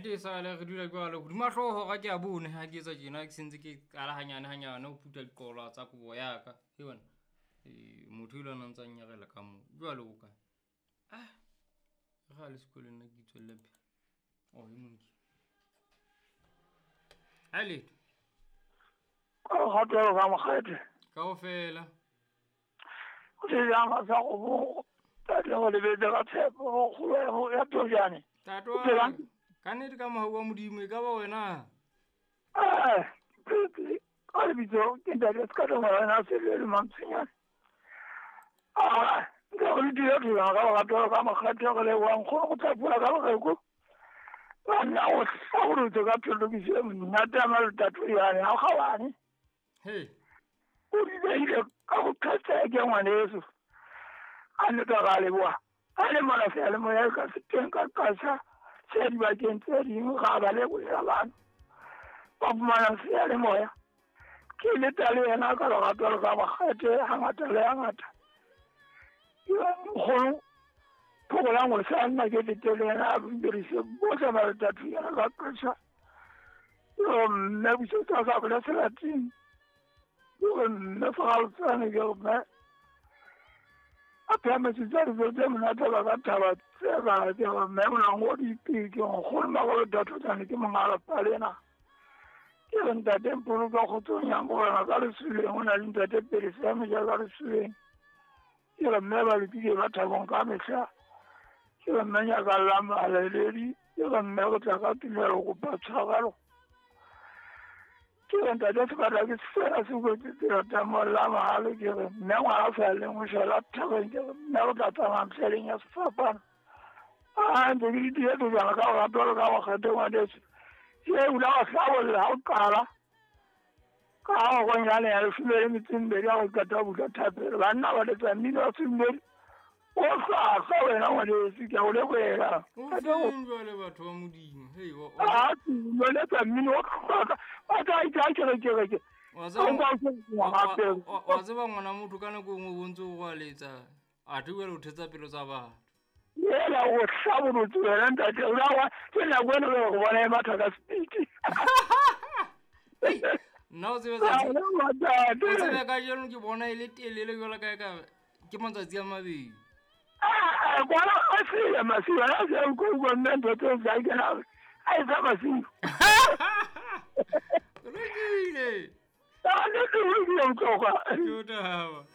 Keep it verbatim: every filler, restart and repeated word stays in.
Nnete e sale re dula jwalo hodima hlooho ga ke a bone ha ke etsa tjena ke sentse ke qala hanyane hanyane ho phutha diqolwa tsa kobo ya ka. He wena, eh motho elo a ntsa nyarela ka moo. Jwale o kae? Ah. Re le sekolong nna ke itswelle pele. Oh, e monki. Ha letho. Ka lerato ka mokgete. Kaofela. O se jang sa go bo tate go lebetse ka tshepo go kgolo ya Tojane. Tate wa ka nnete ka mohau wa Modimo e ka ba wena. Eh, ka lebitso ke ntate se ka tlo wena se le Mantshonyane. Ah, nka go le dira thulana ka lerato ka mokgete re leboha nkgono go tla ka lereko. Banna o hlabolotse ka phetokiso e monate ya Malotatoyane ha kgabane. Hey. O dibeile ka go qhetseke ngwaneso. A nnete ra leboha. A le mona seyalemoya ka se teng ka qasha se dibakeng tse ding ga ba lebohela bana. Ba fumana seyalemoya. Ke leta le yena ka lerato le ka mokgete hangata le hangata. Nkgono phokolang go sa nna ke lete le yena a dirise bohle Malotatoyane ka qasha. Mme busetsa ka bola selateng. Ke mme Faraltsane ke mme a phemetse tsa dijo tse monate ba ka thaba tse ba ke mme monangodi ke nkgono Malotatoyane ke monga lapa lena. Ke re ntate Mpoloka kgotsong ya morena ka lesuleng o na le ntate Pele sa meja ka lesuleng. Ke re mme ba lokile ba thabong ka mehla. Ke re mme nyakallang mahaleledi. Ke re mme go tla ka tumelo go kopa tshwarelo. Ke re ntate Sebata ke sena se kwetse tsela tsa molla mahalo. Ke re mme ngwana sa leng o shwela thabeng. Ke re mme go tla tsamaya mhleleng ya sefapano. A ntse ke di dire jana ka lerato le ka mokgete ngwaneso. Ke ula wa hlabolla ha o qala. Ka go nyane ya leshome le metso e mmedi ha go qeta ho bula thapelo. Banna ba letsa mmino wa sedumedi. O hlwahlwa wena ngwaneso ke a o lebohela. O feng jwale batho ba Modimo. Hei wa Ah, ba letsa mmino o hlwahlwa. Ba tla itha ke re ke re ke. Wa tseba wa tseba ngwana motho ka nako e nngwe o ntse o rwaletsa. Athe jwale o thetsa pelo tsa batho. Yela o hlabolotse wena ntate o la ke nako eno re go bona e matha ka speed. Nna o tsebe tsatsi. O tsebe kajeno ke bona e le telele jwalo ka ka ke matsatsi a mabedi. Ah, kwana a se masiu a se ko go nne ntate o sa ke na a e sa masiu. Lokile. Ah, ne ke o tloga. Ke o taba.